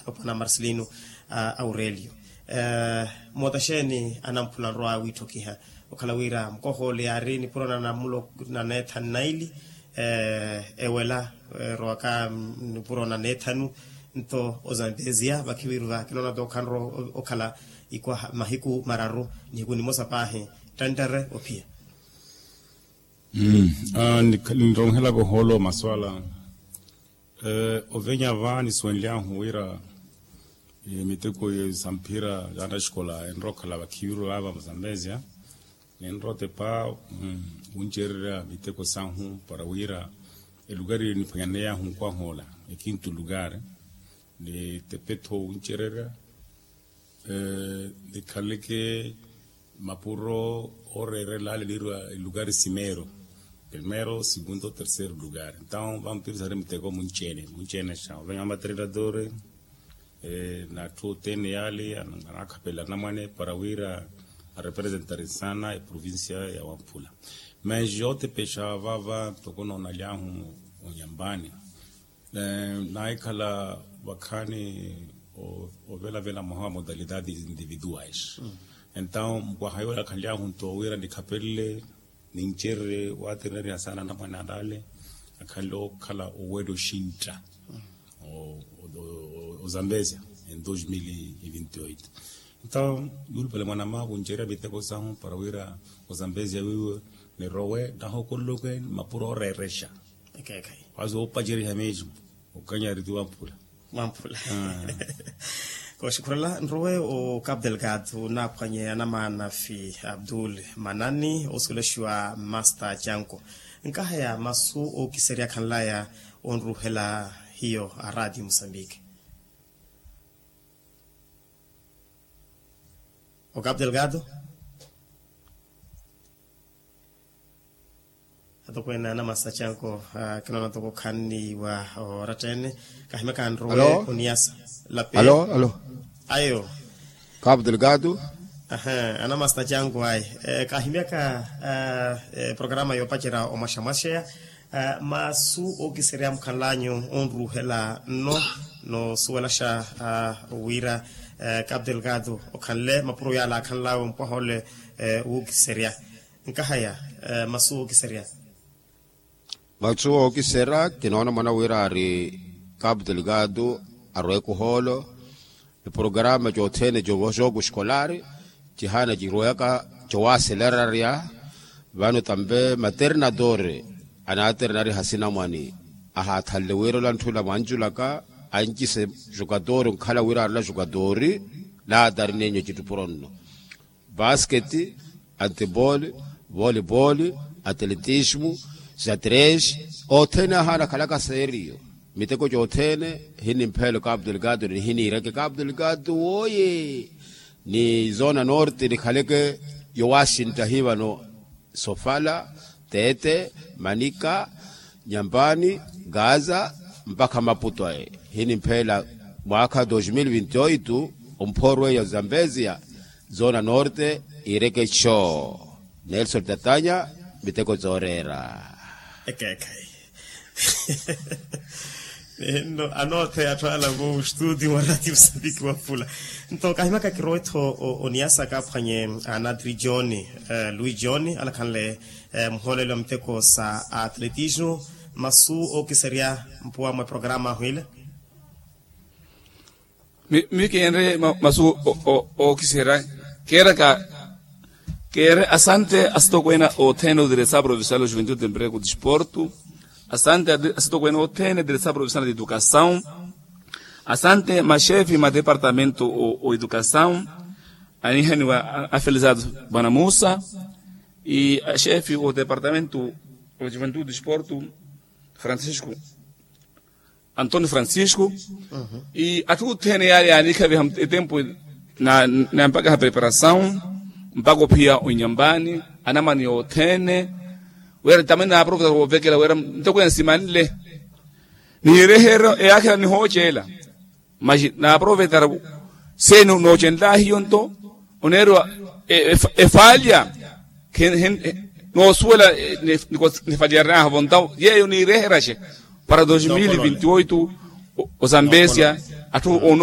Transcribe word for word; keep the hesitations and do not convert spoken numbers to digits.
Opwana marcelino aurelio. Moota xeeni anamphula nrowa wiitthokiha okhala wira mukohoole yaari nipuro na namulo na neethanu naili ewela erowaka nipuro na neethanu. Nto ozambeziya vakhiviru vakinoona tookhanro okhala ikwaha mahiku mararu nihiku nimosa paahi. Ttanttare ophiya. Ninronhelaka ohoolo maswala. Ovenya va nisuwenly'ahu wira miteko samphira yaana xikola enrookhala vakhiviru vava muzambezia. Ninrotepa wuncererya miteko sahu para wira elukari niphwanyaneyahu nkwahoola ekintu lukari. Nitepetho wuncererya nikhaleke mapuro ooreerela ale niirwa elukari simeero. Primero segundo terceiro lukari entawo vampirisaari miteko munci-ene munci-ene xa ovenya va materinadori. N'atthu othene yaale anaakhapela anamwane para wira arepresentari sana eprovincia ya wamphula. Mas yootepexa vava ntoko noonaly'ahu onyambani naahikhala vakhaani ovelavela mwaha wa modalidade individuais. Entawo mukwaha yoola akhanly'ahu nto wira nikhapelele nincererye waatererya sana anamwane alale akhanle okhala owela oxintta ozambezia em dois mil e vinte e oito. Entawo yuulupale mwanamaaku ncererya miteko sahu para wira ozambezia wiiwe nirowe nahokololoke mapuro ooreerexa. Ekeekhayi. Waasi woopaceriha meximu okanyari ti wamphula. Wamphula. Kooxikhurela nrowe o capu delgado naaphwanye anamaana fi abdul manani osuwelaxiwa master janko. Nkahaya masu ookiserya khanlaya onruhela hiyo a radio musambiki. O capu delgado. Atokweene anamasta janko kinoona toko khanniwa oratta-ene. Kahimyaka nrowe oniyasa lape. Alo alo. Ayo. Capu delgado. Anamasta janko ayi. Kahimyaka programa yoopacerya omwaxamwaxeya masu ookiserya mukhanlanyu onruhela nno noosuwelaxa wira capu delgado okhanle mapuro yaala akhanlawe mpwaha ole. Wuukiserya nkahaya masu ookiserya. Masu ookiserya kinoona mwana wira ari capu delgado aroweke ohoolo. Eprograma cothene covoxoku xikolar cihaana ciroweyaka cowaaselerarya. Vano tambe maternador anaaterenariha asinamwani ahaathanle wira ola ntthula mwanculaka ancise jukatori onkhala wira arola jukatori. Laatari nenyo citupuro nno basket, antebol, volebol, atletismo, xadres. Othene ahaana akhalaka serio miteko cothene. Hinimpheelo capu delgado nihiniireke capu delgado wooye ni zona norte nikhaleke yowaxintta hivano sofala, tete, manika, nyampani, gaza mpakha maputo aye. Hinimpheela mwaakha dos mil vinti oito omphoorweya zambezia zona norte iireke co. Nelson tatanya miteko zooreera. Ekeekhayi. Nno anootheya atthu ala vo studio wa radio musambiki waphula. Nto kahimyaka kirowe-tho oniyasa kaaphwanye anadri john louis john alakhanle muhoolelo wa miteko sa atletismo. Masu ookiserya mpuwa mwa programa ahu ile. Mi keenre masu ookiserya keeraka keere asante asitokweene othene odiresa provincial o juventude emprego disporto. Asante asitokweene othene odiresa provincial de educasaw. Asante maxefi ma departamento o educasaw anihaniwa afelisado bwana musa. Axefi o departamento o juventude disporto francisco antonio francisco. Atthu othene yaari yaanikhaviha etempu nampakaha preparasaw mpaka ophiya onyambani anamani othene. Wira tamani naaproveta woovekela wira ntokwene simanle nihireherya eyaakhela nihooceela. Maxi naaprovetara seeni noocenlaahiyo nto oneeriwa efalya noosuwela nifalyaryanaaha vontawo yeeyo niireheraxe para dos mil vinti oito. Ozambezia atthu